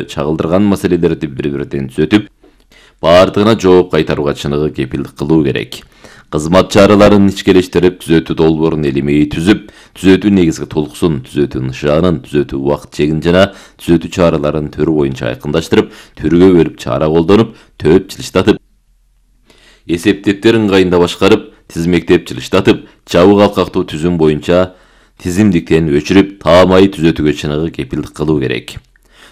чагылдырган маселелерди бири-биринен түзөтүп, баардыгына жооп кайтарууга чыныгы кепилдик кылуу керек. Кызмат чараларын ичкелештирип, түзөтүү долбоорун элемей түзүп, түзөтүү негизги толкусун, түзөтүү нышанын, түзөтүү убакыт чегин жана түзөтүү чараларын түрү боюнча айкындаштырып, түргө бөлүп чара колдонуп, төп жылыштатып, эсептептерин ыңгайында башкарып, тизмектеп жылыштатып, жабык алкактуу түзүм боюнча тизимдиктен өчүрүп, таамай түзөтүүгө чыныгы кепилдик кылуу керек.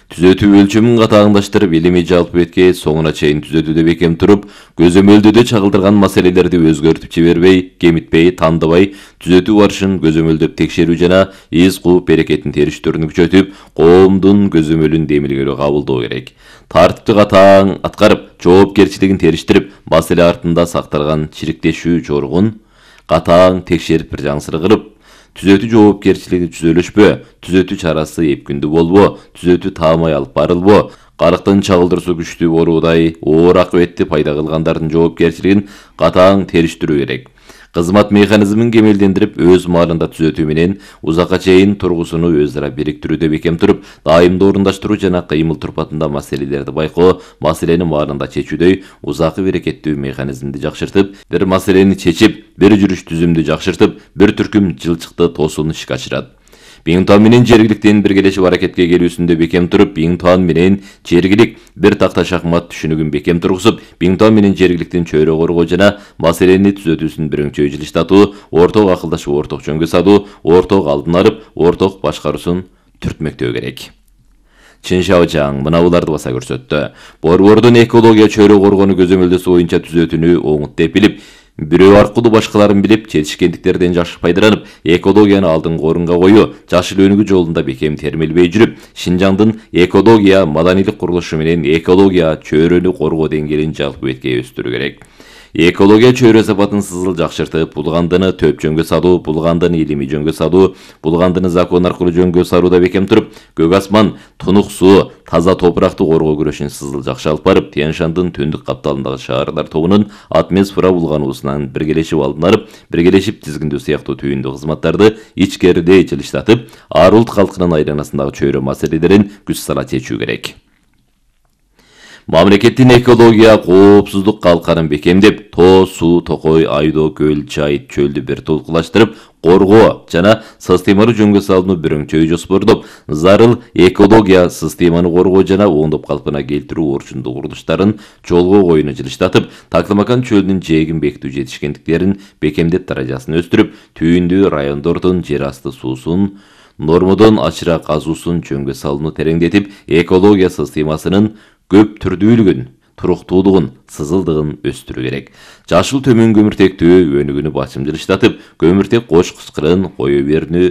Түзөтүү өлчөмүн катаагындаштырып, элемей жалпы бетке соңуна чейин түзөтүүдө бекем туруп, көзөмөлдөөдө чагылдырган маселелерди өзгөртүп жибербей, кемитпей, тандабай, түзөтүү барышын көзөмөлдөп текшерүү жана из кууп берекетин териштүүрүн күчөтүп, коомдун көзөмөлүн демилгелөө кабылдоо керек. Тартипти катаң аткарып, жоопкерчилигин териштирип, маселе артында сакталган чириктешүү жоругун катаң текшерип бир жаңсыры кылып, түзөтүү жоопкерчилиги түзөлүшпө, түзөтүү чарасы эпкүндүү болбо, түзөтүү таамай алып барылбо, карыктын чагылдыруусу күчтүү боруудай оор акыбетти пайда кылгандардын жоопкерчилигин катаң териштирүү керек. Кызмат механизмин кемелдендирип, өз маалында түзөтүү менен узакка чейин тургусуну өз ара бириктирүүдө бекем туруп, дайымдуу орундаштыруу жана кыймыл турпатында маселелерди байкоо, маселени маалында чечүүдөй узакы берекеттүү механизмди жакшыртып, бир маселени чечип, бир жүрүш түзүмдү жакшыртып, бир түркүм жылчыкты тосууну ишке ашырат. Биңтуан менен жергиликтин биргелешип аракетке келүүсүндө бекем туруп, Биңтуан менен жергилик бир такта шахмат түшүнүгүн бекем тургузуп, Биңтуан менен жергиликтин чөйрө коргоо жана маселени түзөтүүсүн бирөңчөй жылыштатуу, орток акылдашуу, орток жөнгө салуу, орток алдын алып, орток башкаруусун түртмөктөө керек. Чын Шаожаң мына буларды баса көрсөттү. Борбордун экология чөйрө коргоону көзөмөлдөсү боюнча түзөтүүнү оңут деп билип, бирөө аркылуу башкаларын билип, жетишкендиктерден жакшы пайдаланып, экологияны алдыңкы орунга коюу, жашыл өнүгүү жолунда бекем термелбей жүрүп, Шинжаңдын экология, маданилик курулушу менен экология чөйрөнү коргоо деңгээлин жалпы бетке өстүрүү керек. Экология чөйрө сапатын сызыл жакшыртып, булгандыны төп жөнгө салуу, булгандыны илимий жөнгө салуу, булгандыны закон аркылуу жөнгө салууда бекем туруп, көк асман, тунук суу, таза топуракты коргоо күрөшүн сызыл жакшы алып барып, Тянь-Шандын түндүк капталындагы шаарлар тобунун атмосфера булгануусунан биргелешип алдын алып, биргелешип тизгиндөө сыяктуу түйүндүү кызматтарды ичкеридей жылыштатып, ар улут калкынын айланасындагы чөйрө маселелерин күч сала чечүү керек. Мамлекеттин экология коопсуздук калканын бекемдеп, тоо, суу, токой, айдоо, көл, чайыт, чөлдү бир тулкулаштырып, коргоо жана системалуу жөнгө салууну бирөңчөй жоспордоп, зарыл экология системаны коргоо жана оңдоп калпына келтирүү орчундуу курулуштарын жолго коюуну жылыштатып, Такламакан чөлүнүн жээгин бекитүү жетишкендиктерин бекемдеп даражасын өстүрүп, түйүндүү райондордун жер асты суусун нормодон ачыра казуусун жөнгө салууну тереңдетип, экология системасынын көп түрдүүлүгүн, туруктуулугун, сызылдыгын өстүрүү керек. Жашыл төмөн көмүртектүү өнүгүүнү басым жылыштатып, көмүртек кош кычкырын кое берүүнү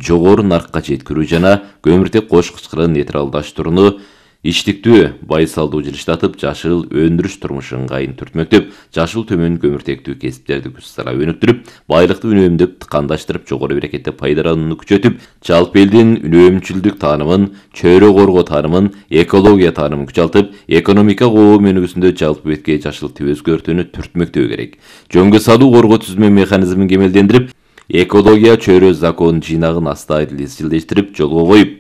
жогору наркка жеткирүү жана көмүртек кош кычкырын нейтралдаштырууну иштиктүү байсалдуу жылыштатып, жашыл өндүрүш турмушу ыңгайын түртмөктөп, жашыл төмөн көмүртектүү кесиптерди күч сала өнүктүрүп, байлыкты үнөмдөп, тыкандаштырып, жогору берекетте пайдаланууну күчөтүп, жалпы элдин үнөөмчүлдүк таанымын, чөйрө коргоо таанымын, экология таанымын күчалтып, экономика коом өнүгүүсүндө жалпы бетке жашыл тип өзгөртүүнү түртмөктөө керек. Жөнгө салуу коргоо түзмө механизмин кемелдендирип, экология чөйрө закон жыйнагын астайыл изчилдештирип, жолго коюп,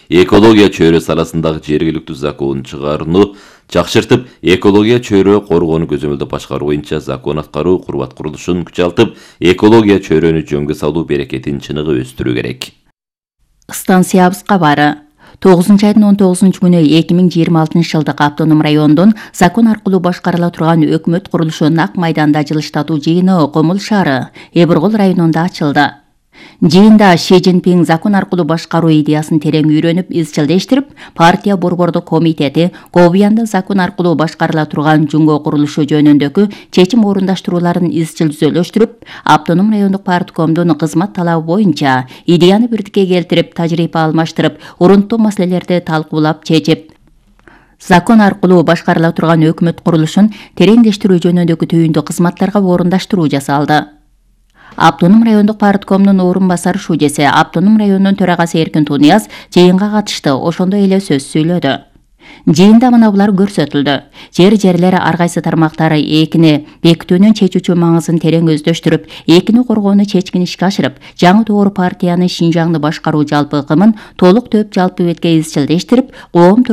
экология чөйрө саласындагы жергиликтүү закон чыгарууну жакшыртып, экология чөйрө коргоону көзөмөлдөп башкаруу боюнча закон аткаруу, курбат курулушун күчалтып, экология чөйрөнү жөнгө салуу берекетин чыныгы өстүрүү керек. Станциябыз кабары 9-айдын 19-күнү 2026-жылдык автоном райондун закон аркылуу башкарыла турган өкмөт курулушу Нак майданда жылыштатуу жыйыны Комул шаары, Эбургул районунда ачылды. Жыйында Ши Цзиньпин закон аркылуу башкаруу идеясын терең үйрөнүп, изчилдештирип, партия борбордук комитети Говьянда закон аркылуу башкарыла турган жүнгө курулушу жөнүндөгү чечим орундаштырууларын изчил түзөлөштүрүп, автоном райондук парткомдун кызмат талабы боюнча идеяны бирдикке келтирип, тажрыйба алмаштырып, урунттуу маселелерди талкуулап чечип, закон аркылуу башкарыла турган өкмөт курулушун тереңдештирүү жөнүндөгү түйүндүү кызматтарга орундаштыруу жасалды. Автоном райондук парткомдун орун басары шужеси, автоном районунун төрагасы Эркин Тунияз жыйынга катышты, ошондой эле сөз сүйлөдү. Жыйында мына булар көрсөтүлдү. Жерлер ар кайсы тармактары экини бекитүүнүн чечүүчү маңызын терең өздөштүрүп, экини коргоону чечкин ишке ашырып, жаңы doğru партиянын Шинжаңды башкаруу жалпы ыкымын толук төп жалпы бетке изчилдештирип, коом